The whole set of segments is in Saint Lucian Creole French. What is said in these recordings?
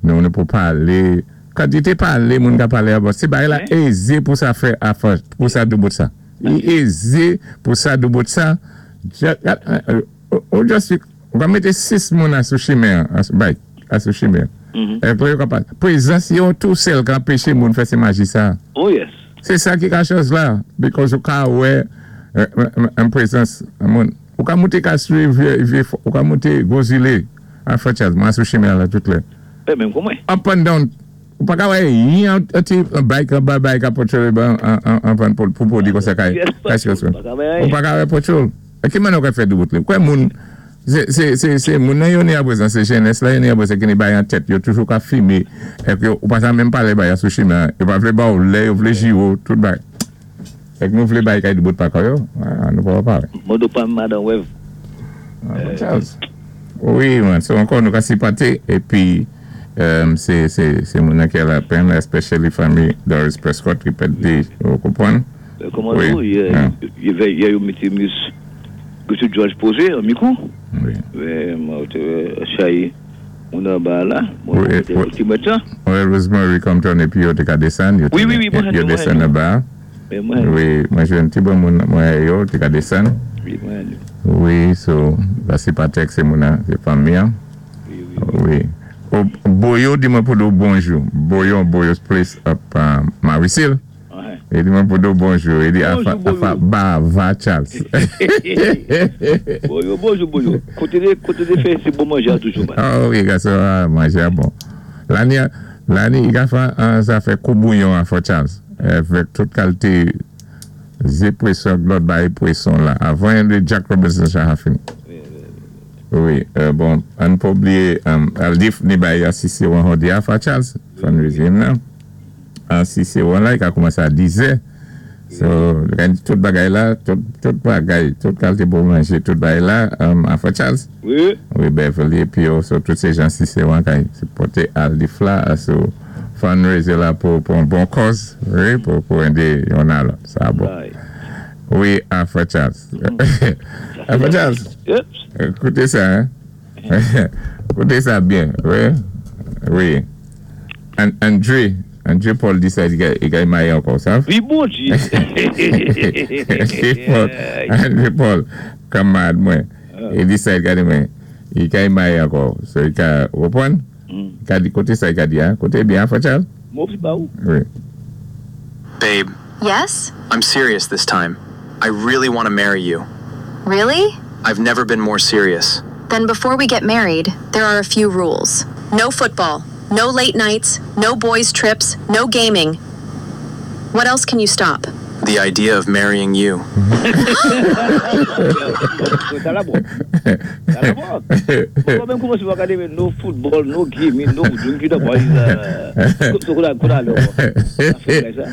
Nou ni pou palé, kantité palé moun ka palé about, sé bagay la ézé pou sa fè afè, pou sa doubout sa. Li ézé pou sa doubout sa, ou just, ou ka mété 6 moun a sou chimen an, a bike, a sou chimen an. Èpre yo ka pa, prezans yo tou sèl ka anpeché moun fè sé maji sa. Oh yes. Sé sa ki ka chòz la, because ou ka wè an prezans moun. Ou ka moute ka swiv vye, ou ka moute gwo zile a Frè Charles, mwen sou chimen an la tout lè. E menm kou mwen. Up and down, ou pa ka wè yon ti bike anba bay ka potchol an vann pou pwodi konsa kay kay Ou pa ka wè potchol. E ki manè ou ka fè doubout li? Ou kwè moun se moun nan yo ni aprezan se jenès la yo ni aprezan ki ni bay an tèt yo toujou ka fime èk yo ou pa ta menm pale bay a sou chimen an yo pa vle ba ou lè yo vle jire w tout bagay. Fèk nou vle bay kay doubout pa kò yo, nou pa pare. Modo pam madan wèv. Charles Wi man so ankò nou ka sipòte epi se se se moun nan kè lapenn especially fanmi Doris Prescott ki pèdi ou konprann. Kòman tou yè yè yo mete miss Gertrude George poze an mikou Wi. Mwen te wè chay moun anba a la mwen te wè ti mèt lan. Wi Rosemary Compton epi yo te ka desann yo te yo desann anba a. Wi mwen jwenn ti bon moun mwen yo te ka desann. Wi so la se pa tèks se moun an se fanmi an. Wi Boyo di mwen pou di w bonjou Boyo Boyo's place up Marisil li di mwen pou di w bonjou li di afa bava Charles. Boyo bonjou Boyo kote te fè se bon manje a toujou man. Oh wi gason manje a bon lani lani i ka fè an zafè kou bouyon a fò Charles. Avèk tout kalte ze pweson ak lòt bagay pweson la avan yon de Jack Robinson sa ha fini. Wi bon ann pa bliye Aldif ni bay a Ciceron hòdi a fra Charles fundraising nan a Ciceron la li ka koumanse a 10 zè so tout bagay la tout bagay tout kalte bon manje tout bagay la a fra Charles wi Beverly epi yo so tout se jan Ciceron kay sipòte Aldif la so. Fundraiser la pou pou yon bon kòz wi pou pou ede yonn a lòt sa bon wi a frè Charles a frè Charles koute sa koute sa byen wi wi Andre Andre Paul di sa li ka marye ankò sa wi bondye Andre Paul Andre Paul kanmarad mwen li di sa li ka di mwen li ka marye ankò so li ka ou konprann. Ka di kote sa ka di a? Kote byen a frè Charles? Mo pi ba ou. Wi. Babe. Yes? I'm serious this time. I really want to marry you. Really? I've never been more serious. Then before we get married, there are a few rules. No football, no late nights, no boys' trips, no gaming. What else can you stop? The idea of marrying you. Sa la bon. Sa la bon. Mwen menm kouman se wak gade no football, no gaming, no drinking the boys. So kou la kou la lè wè. Sa fini sa.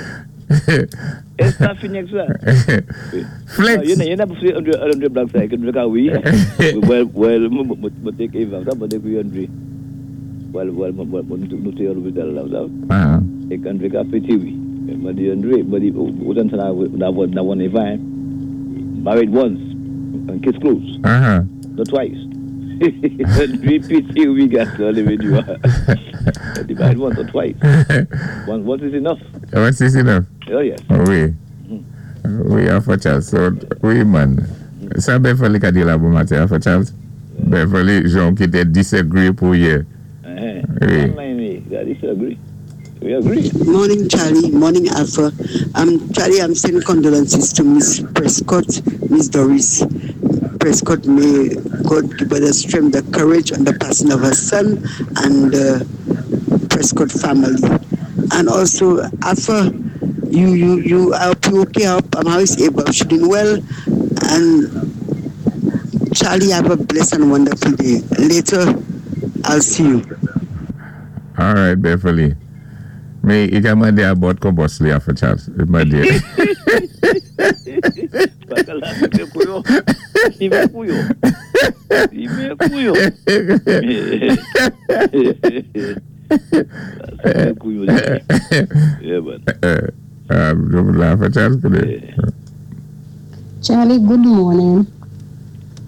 Es sa fini ak sa. Flex. Yè nan pou fè Andre Black sa, ke nou ka wi. Well, well, mwen te ke Eva, sa mwen te ke Andre. Well, well, mwen nou te yon lopital la, sa. E Andre ka pete wi. Mwen di Andre, mwen di, ou tan sa na na Eva, hein. Married once, and case closed. Not twice. Andre pete wi, gason, leve di wa. Mwen di married once, not twice. Once is enough. Once is enough. Oh yes. Wi. Wi, Alpha Charles. So, wi man. Sa Beverly ka di la bon maten, Alpha Charles? Beverly, jan ki te disagree pou ye. Wi. Disagree. We agree. Morning, Charlie. Morning, Alpha. Charlie, I'm sending condolences to Miss Prescott, Miss Doris Prescott. May God give her the strength, the courage, and the passing of her son and the Prescott family. And also, Alpha, you, you, you, I hope you okay. I hope Maris able. She doing well. And Charlie, have a blessed and wonderful day. Later, I'll see you. All right, Beverly. Men, i ka mande abòt kon bòs li, Alpha Charles. I mande. Baka la, i men kouyo. I men kouyo. I men kouyo. I men kouyo. Yeah, man. La, Alpha Charles, koute. Charlie, good morning.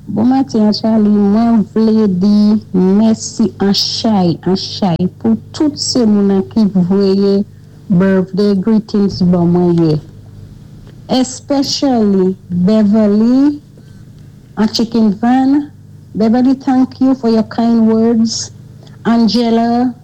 Bon maten, Charlie. Mwen vlé di mèsi an chay, an chay pou tout sé moun ki voyé birthday greetings ban mwen yè. Especially Beverly an Chicken Van. Beverly, thank you for your kind words. Angela,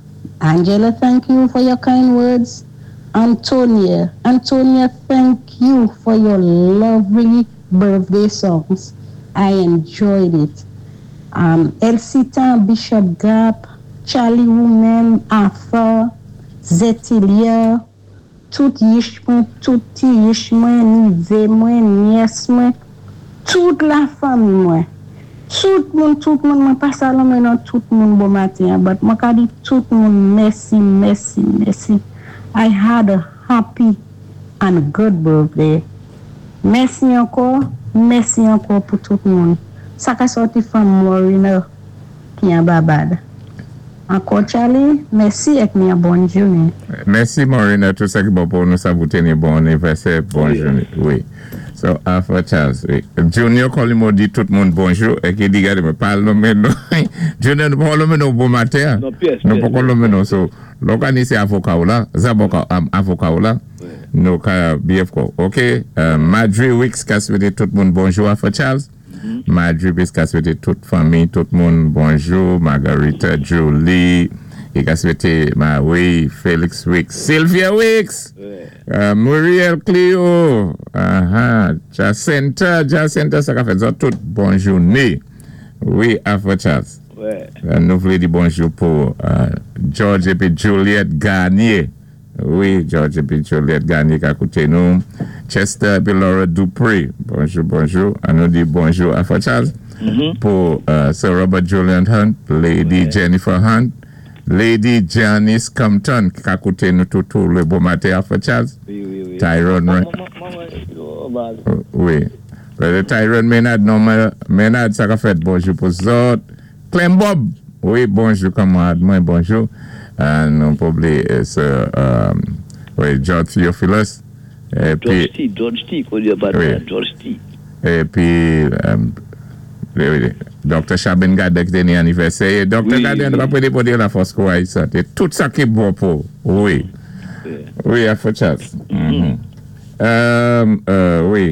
Angela, thank you for your kind words. Antonia, Antonia, thank you for your lovely birthday songs. I enjoyed it. Elsitan, Bishop Gap, Charlie Woman, Arthur, Zetilia, tout yich mwen, tout ti yich mwen, nivé mwen, nyès mwen, tout la fanmi mwen. Tout moun, tout moun, mwen pa sa nonmen non tout moun bon maten, but mwen ka di tout moun mèsi, mèsi, mèsi. I had a happy and good birthday. Mèsi ankò, mèsi ankò pou tout moun. Sa ka sòti from Morena ki an Barbad. Ankò Charlie, mèsi èk ni an bòn jounen. Mèsi Morena, tout sa ki bon pou nou sa pou teni bon anivèsè, bon jounen. Wi. So, Alpha Charles, wi. Junior Colimo di tout moun bonjou, e ki di gade mwen pa nonmen nou. Junior, nou pa nonmen nou bon maten. Non, pyès, Nou pyès. pa nonmen nou. So, lò ka ni sé avoka ou la, zaboka, avoka ou la, nou ka byen fò. Ok, Madry Wicks ka swété tout moun bonjou, Alpha Charles. Madry Wicks ka swété tout fanmi, tout moun bonjou. Margarita, Julie, i ka swété Marie, Felix Wicks, Sylvia Wicks, Muriel Clio, Jacinta, Jacinta, sa ka fè zòt tout bon jouné. Wi, Alpha Charles. Nou vlé di bonjou pou George épi Juliette Garnier. Wi, George épi Juliette Garnier ka kouté nou. Chester épi Laura Dupré. Bonjou, bonjou. An nou di bonjou Alpha Charles. Pou Sir Robert Julian Hunt, Lady Jennifer Hunt, Lady Janice Compton ki ka kouté nou toutou lé bon maten, Alpha Charles. Wi. Tyrone. Wi. Brother Tyrone Maynard, non Maynard, sa ka fèt bonjou pou zòt. Clem Bob, wi, bonjou kanmarad mwen, bonjou. Nou pa oubliyé Sir, wi, George Theophilus. Épi, George T, George T, kon di pa George T. Épi, wi, Dr. Chabin Gade ki té ni anivèsè. Dr. Gade, nou pa pwé dépòté la fòs kouray sa. Tout sa ki bon pou, wi. Wi, Alpha Charles. Wi.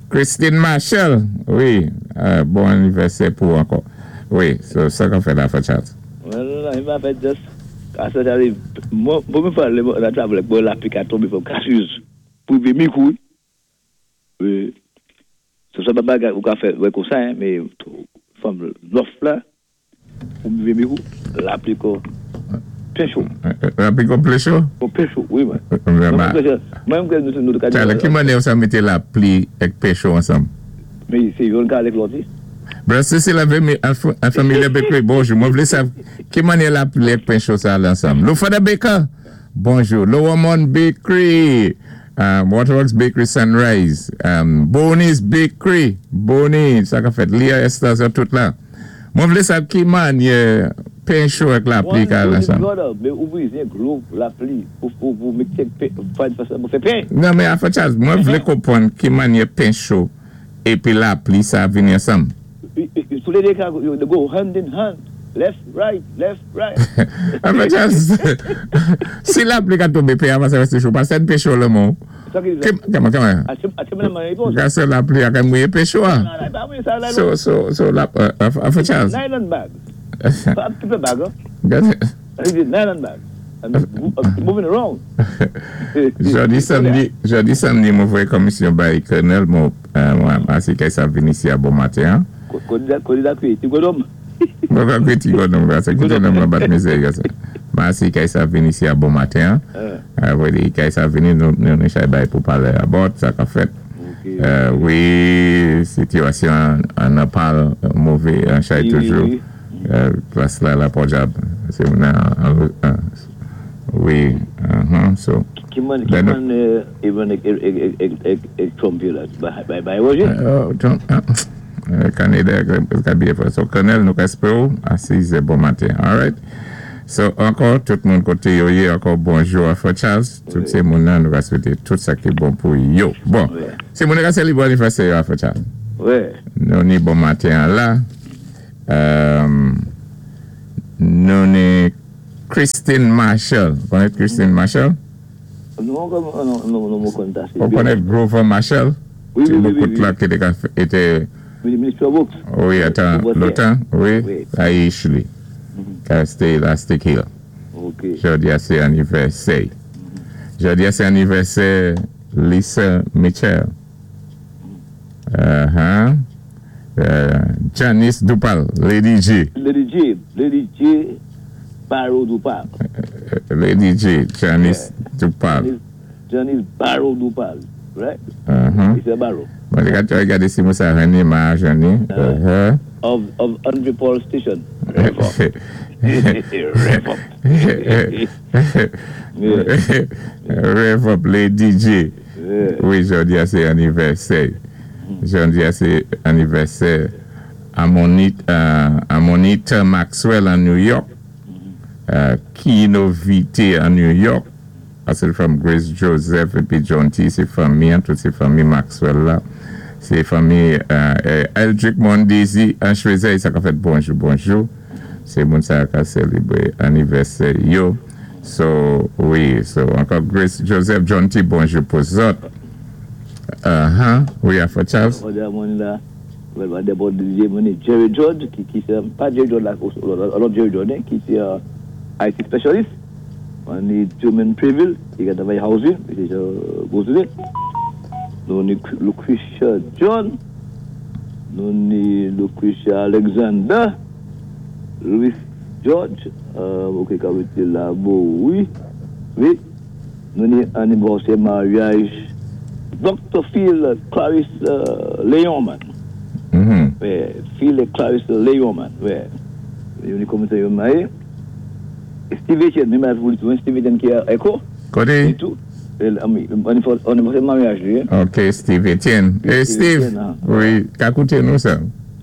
Christine Marshall, wi, bon anivèsè pou ankò. Wi, so sa ka fèt, Alpha Charles? Well, I pa fèt just, asa Charlie, mwen mwen fè lè mwen travel mwen lapli ka tonbé fòm kasuz pou rivé mi kou. Wi. So sa pa bagay ou ka fè wè kon sa, mais from north la pou rivé mi kou, lapli ko pen cho. Lapli ko plen cho? Ko pen cho, wi mwen. Mwen mwen nou ka di. Charlie, ki mannyè sa mété lapli èk pen cho ansanm? Mais sé youn ka alé lòt. Brother Cecil an Familia Bakery, bonjou. Mwen vlé sa, ki mannyè lapli èk pen cho sa alé ansanm? Lufada Baker, bonjou. Lower Mount Bakery, Waterworks Bakery Sunrise, Bonnie's Bakery, Bonnie, sa ka fèt, Leah Esther, sa tout la. Mwen vlé sa ki mannyè pen cho èk lapli ka alé ansanm? Mais ou bezwen dlo lapli pou mété pou fè pen. Non men Alpha Charles, mwen vlé konpwann ki mannyè pen cho épi lapli sa vini ansanm. Sou lé dé ka they go hand in hand, left, right, left, right. Alpha Charles, si lapli ka tonbé pen a pa sa résté cho, pa sèn pen cho lan men w. Kèman, kèman? Gase lapli a ka mouye pen cho a. So, la, Alpha Charles. Nylon bag. Pa paper bag, huh? Gade. Nylon bag. Moving around. Jodi samdi mwen voye komisyon bay Colonel mwen asi kay sa vini isi a bon maten. Kodi da kwe, ti godom. Mwen pa kwe ti godom, gase ki te nan mwen bat mizè gase. Mwen asi kay sa vini isi a bon maten. Voye kay sa vini nou nou chay bay pou pale about sa ka fèt. Wi, sitiyasyon an nan pal mové an chay toujou. Plas la la pòdyab. Se nan wi, so. Ki man even ek Trump yo la, bay Roger? Oh, Trump, Canada ka byen fè. So, Colonel, nou ka espere ou a 6 bon maten. Alright. So, ankò, tout moun koté yo yé, ankò bonjou Alpha Charles. Tout sé moun nan nou ka swété tout sa ki bon pou yo. Bon, sé moun ka sélébwé anivèsè yo, Alpha Charles. Ouais. Nou ni bon maten la. Nou ni Christine Marshall. Konnèt Christine Marshall? Non, non, non, konn sa. Ou konnèt Grover Marshall? Oui, oui, oui. Oui, la ki été Minister of Works. Wi, atan, lontan, wi, la Ashley. Ki Elastic Hill. Ok. Jòdi a sé anivèsè. Jòdi a sé anivèsè Lisa Mitchell. Janice Dupal, Lady G. Lady G, Lady G. Barrow Dupal. Lady G, Janice Dupal. Janice Barrow Dupal, right? Lisa Barrow. Bon, gadé si mwen sa René Ma Jani. Of Andre Paul Station. Rev up. Rev up. Rev up, Lady G. Wi, jòdi a sé anivèsè. Jòdi a sé anivèsè Amonita Maxwell an New York. Kino Vite an New York. Sé fanmi Grace Joseph épi John T. Sé fanmi, tout sé fanmi Maxwell la. Sé fanmi Eldrick Mondesi an Choiseuil, sa ka fèt bonjou, bonjou. Sé moun sa ka sélébwé anivèsè yo. So, wi, so ankò Grace Joseph, John T. Bonjou pou zòt. Wi, Afro Charles. Well, Jerry George, ki sé, pa Jerry George la, lòt Jerry George, ki sé IT specialist. On ni Truman Preville, ki ka travay housing, ki sé Boston. Nou ni Lucretia John, nou ni Lucretia Alexander, Louis George, ok, ka la, bon, wi. Nou ni anivèsè maryaj Dr. Phil Clarisse Léon, man. Wi, Phil Clarisse Léon, man. Wi. Yo ni komité yo maryé. Steve Etienne, menm pou Steve Etienne ki Echo. Koté? Et tout. Anivèsè maryaj, lui. Ok, Steve Etienne. Eh, Steve, wi, ka kouté nou sa.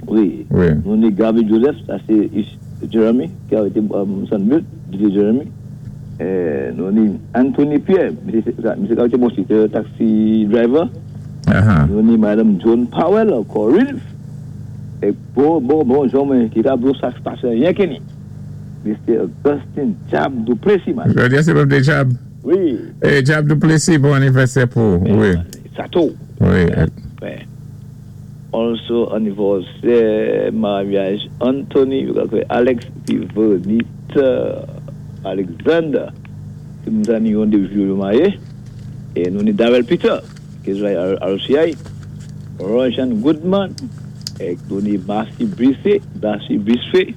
Wi. Wi. Nou ni Gaby Joseph, sa sé Jeremy, ki a été Sandville, DJ Jeremy. Nou ni Anthony Pierre, misyé ka été bon, sé taxi driver. Nou ni Madame John Powell, Corinth. É bon, bon, bon, Jean, ki ka sa pasé ryen ki Mr. Augustin Jab Duplessis, man. Jòdi a sé birthday Jab. Wi. Eh, Jab Duplessis, bon anivèsè pou, wi. Sato. Wi. Ouais. Also, anivèsè maryaj Anthony, Alex Vivonita Alexander. Tout moun ni yon dé jou maryé. É nou ni Darrell Peter, ki sé RCI. Rojan Goodman. É nou ni Marcy Brissé, Darcy Brissé.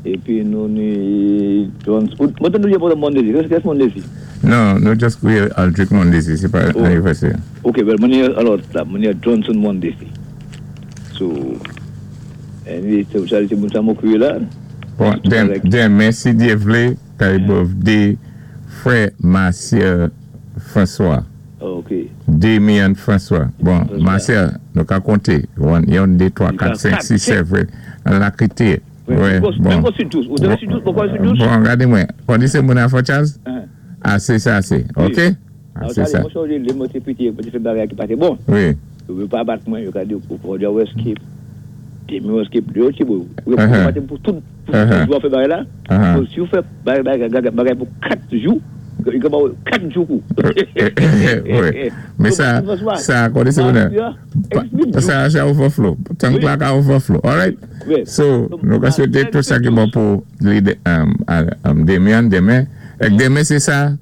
Épi nou ni John. Mwen nou pou Mondesi. Qu'est-ce Mondesi? Non, nou just kriwé Aldrich Mondesi, sé pa anivèsè. Ok, well, mwen alò, la, mwen Johnson Mondesi. So, anyway, sa sé moun sa mwen kriwé la. Bon, denmen, si Dye vlé, kay birthday frè Martial François. Ok. Damien François. Bon, Martial, nou ka konté. 1, 2, 3, 4, 5, 6, 7, 8. An la krité. Oui, bon. Bon, gadé mwen. Kon di sé moun Afro Charles? Asé sa, asé. Ok? Asé sa. Mwen, mwen piti, mwen fè bagay ki pa bon. Wi. Yo pa bat mwen, yo ka di, ou di escape. Demi escape, yo ti bon. Yo pa pou tout, pou fè bagay la. Si ou fè bagay pou 4 jou, yo ka ba 4 jou kou. Wi. Mais sa, kon di sé moun sa, sa overflow. Tank la ka overflow. All right? So, nou ka swété tout sa ki bon pou Damien, denmen. Ek denmen sé sa,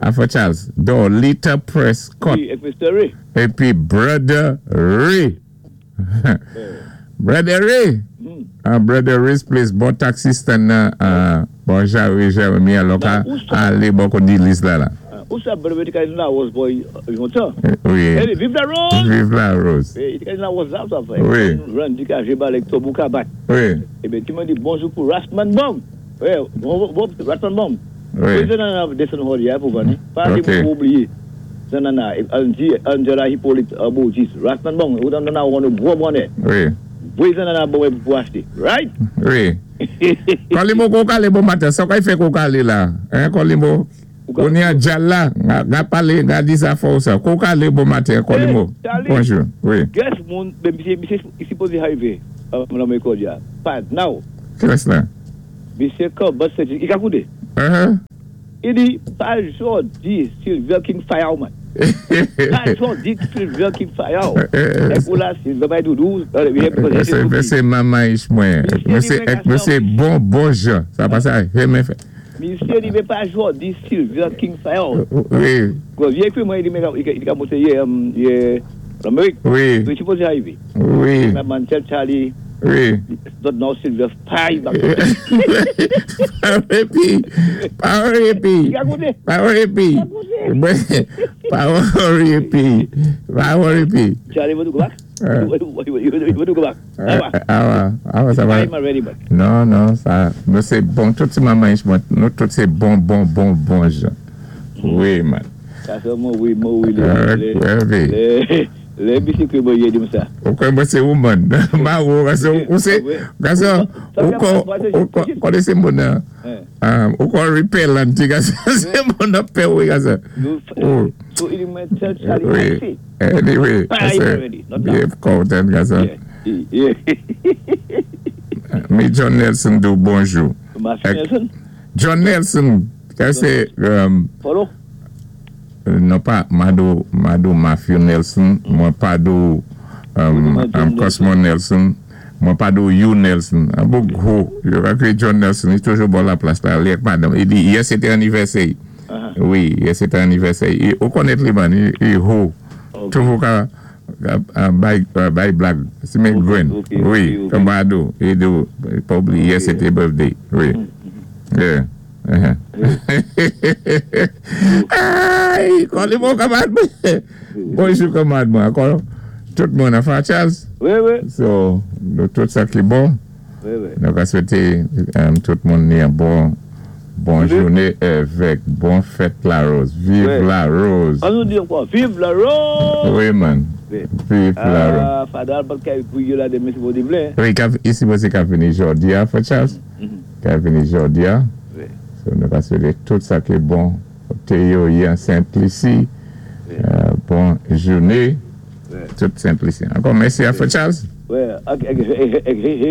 Afro Charles. Dorlita Prescott. Wi, Mr. Ray. Épi Brother Ray. Brother Ray. Brother Ray's Place, bon taxi stand nan, bon Jerry Jeremy, alò ka alé bon kon di lis la la. Ou sa Brother Ray te la was boy lontan. Wi. Vive la rose! Vive la rose. Wi, te la was la, sa fè. Wi. Randy ka jwe ak Tobou ka bat. Wi. Eben, ti mwen di bonjou pou Rasman Bong. Wi, bon, Rasman Bong. Wi. Président desann Holly pou vini. Pa pou oubliyé. Nana, Angela Hippolyte Boutis, Rasman Bong, ou nan nan gwo bonnè. Wi. Président nan bon pou achté. Right? Wi. Kolimbo kon kalé bon maten, sa kay fè kon kalé la? Hein, Kolimbo? On y a dja la, nga palé, nga di sa fò sa. Kou ka lé bon maten, Kolimo. Bonjou, wi. Guess moun, ben, misé sipozé arivé nan ékòl ya. Pa now. Kilès la? Misé Corbett Saint, i ka koudé. I di, pa jòdi Silver King fire ou man. Pa jòdi Silver King fire ou. É pou la Silver bay doudou. Misé manman mwen. Misé bon, bon jan. Sa pa sa, renmen fè. Misé di, pa jòdi Silver King fire ou. Wi. Li ékri mwen, i di ka monté yè, yè, Lamérik. Wi. Li sipozé arivé. Wi. Man, tell Charlie. Wi. Not now Silver fire. Pa repi. Pa repi. Pa repi. Pa repi. Pa repi. Charlie, want to go back? You want to go back? Ah, ah, sa va. Non, non, sa, nou sé bon, tout sé manman mwen, nou tout sé bon, bon, bon, bon jan. Wi, man. Sa sé mwen, wi, mwen, wi, lé, lé, lé, misé kwé mwen yé di sa. Ou kwé mwen sé ou man. Ma ou, kasi ou sé, kasi ou kon, ou kon, sé moun nan, ou kon repellent, kasi sé moun nan pè ou, kasi. So, i di mwen tell Charlie, Wi. Anyway, kasi, bien kontan, kasi. Yeah. Mi John Nelson di bonjou. Matthew Nelson? John Nelson, kasi, Follow? Non pa Mado, Mado Matthew Nelson, mwen pa do Cosmo Nelson, mwen pa do You Nelson. An bon gwo, yo ka John Nelson, i toujou bon la plas la, li ak madame. I di, yè sété anivèsè. Wi, yè sété anivèsè. Ou konnèt li man, i ho. Toujou ka bay, bay blag. Si men gwen. Wi, Mado, i do, probably yè sété birthday. Wi. Yeah. Ay, kòli bon kanmad mwen. Bonjou kanmad mwen. Ankò, tout moun an Charles? Wi. So, nou tout sa ki bon. Wi. Nou ka swété tout moun ni an bon, bon jouné avèk bon fèt la rose. Vive la rose. An nou di ankò, vive la rose! Wi, man. Vive la rose. Ah, Fadal, pat kay pou la démen si Bondé vlé. Wi, isi wè ka vini jòdi a, Frè Charles. Ka vini jòdi a. Wi. So, nou ka swété tout sa ki bon. Théo yon Sainte-Lucie. Bon jouné. Tout Sainte-Lucie. Ankò mèsi a Frè Charles. Wi, ok,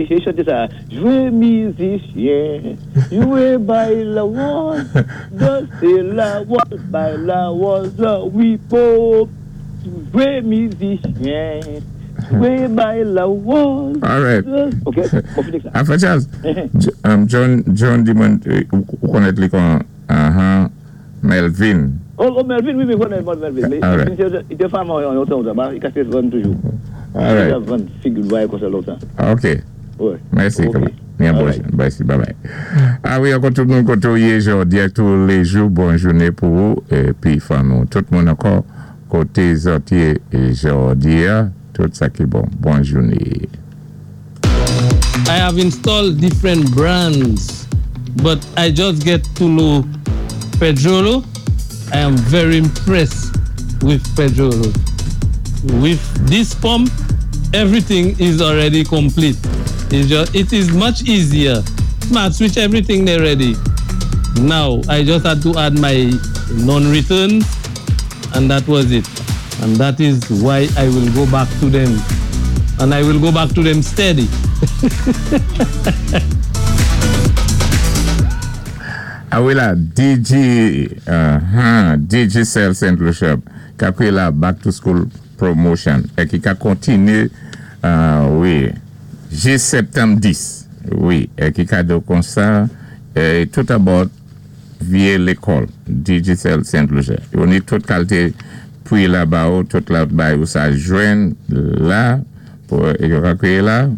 j'ai chanté ça. Jouez musicien, jouez bay la rose, dansez la rose, bay la rose, oui, pop. Jouez musicien, jouez bay la rose. All right. Ok, on finit ça. Ah, Frè Charles, John di mwen, ou konnèt li kon, Melvin. Oh, Melvin, wi, konnè Melvin. Mais il était femme en longtemps, il casse vendre toujours. All right. Il vendre figure comme ça longtemps. Ok. Ouais. Mèsi. Ok. Byen bonjou. Mèsi, bye bye. Ah wi, ankò tout moun koté ou yé jòdi a tous les jours, bon jouné pou ou épi fanmi. Tout moun ankò koté zòt yé jòdi a, tout sa ki bon. Bon jouné. I have installed different brands, but I just get to know Pedrolo. I am very impressed with Pedrolo. With this pump, everything is already complete. It is much easier. Smart switch, everything they ready. Now, I just had to add my non-returns, and that was it. And that is why I will go back to them. And I will go back to them steady. Ah wi la, DG, Digicel St. Lucia, ka kwé la Back to School Promotion, é ki ka kontiné, wi, jis septanm 10, wi, é ki ka do kon sa, é tout about vyé lékòl, Digicel St. Lucia. Yo ni tout kalité pri la ba ou, tout la bay ou sa jwenn la, pou yo ka kwé la,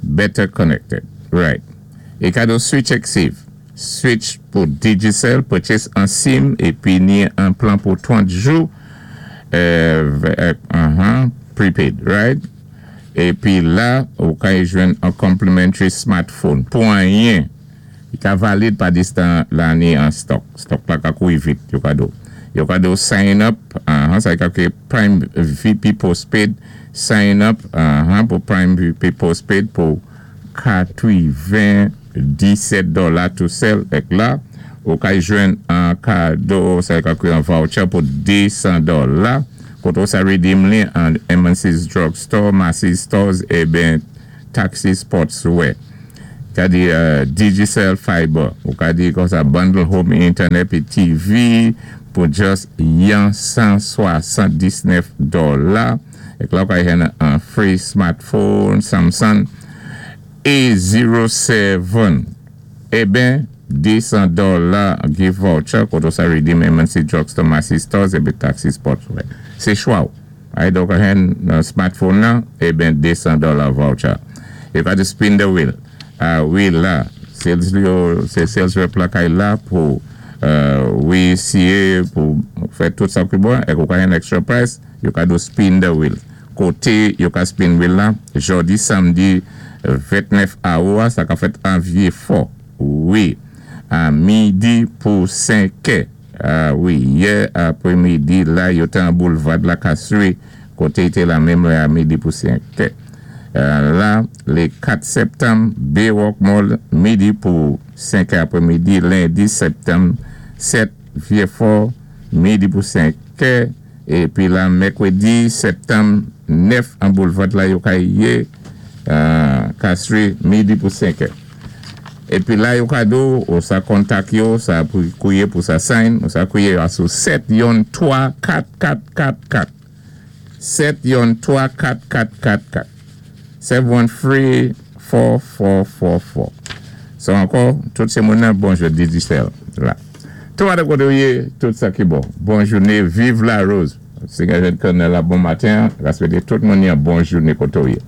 better connected, right. É ka do Switch and Save. Switch pou Digicel, purchase an SIM épi ni an plan pou 30 jou prepaid, right? Épi la, ou ka jwenn an complimentary smartphone. Pou anyen, i ka valid pa distan la ni an stock. Stock la ka koui vit, yo ka do. Yo ka do sign up, sa ka kwé Prime VP postpaid, sign up pou Prime VP postpaid pou 97 dola tou sèl ek la. Ou kay jwenn an kado, sa ka kwi an voucher pou 200 dola. Koto sa redeem li an M&C's Drugstore, Macy's Stores, e ben Taxi Sportswear. Ka di Digicel Fiber. Ou ka di kon sa bundle home internet pi TV pou just yon 179 dola. Ek la ou ka jwenn an free smartphone Samsung A07. E ben, 200 dola gift voucher koto sa redeem M&C Drugstore, Macy's Stores e ben Taxi Sportswear. Se chwa ou. Ay do ka hen smartphone nan, e ben 200 dola voucher. E ka di spin the wheel. Ah, wi la, sales yo, se sales rep la kay la pou wi siye pou fè tout sa ki bon, ek ou ka hen extra price, yo ka do spin the wheel. Koté yo ka spin wheel la, jodi samdi 29 août, sa ka fèt an Vieux-Fort. Wi, a midi pou 5 è. Ah, wi, yè apwé-midi la, yo té an boulevard la Castries, koté té la menm a midi pou 5 è. La, lé 4 septanm, Baywalk Mall, midi pou 5 è apwé-midi, lendi septanm 7, Vieux-Fort, midi pou 5 è, épi la mèkwédi septanm 9 an boulevard la yo ka yé Castries, midi pou 5 è. Épi la yo ka do, ou sa kontak yo, sa pou kouyé pou sa sign, ou sa kouyé a sou 7 yon 3 4 4 4 4. 7 yon 3 4 4 4 4. 7 1 3 4 4 4 4. So ankò, tout sé moun nan, bonjou Digicel la. Tout de koté ou yé, tout sa ki bon. Bon jouné, viv Larose. Si gen jen konnen la bon maten, ka swété tout moun yon bon jouné koté ou yé.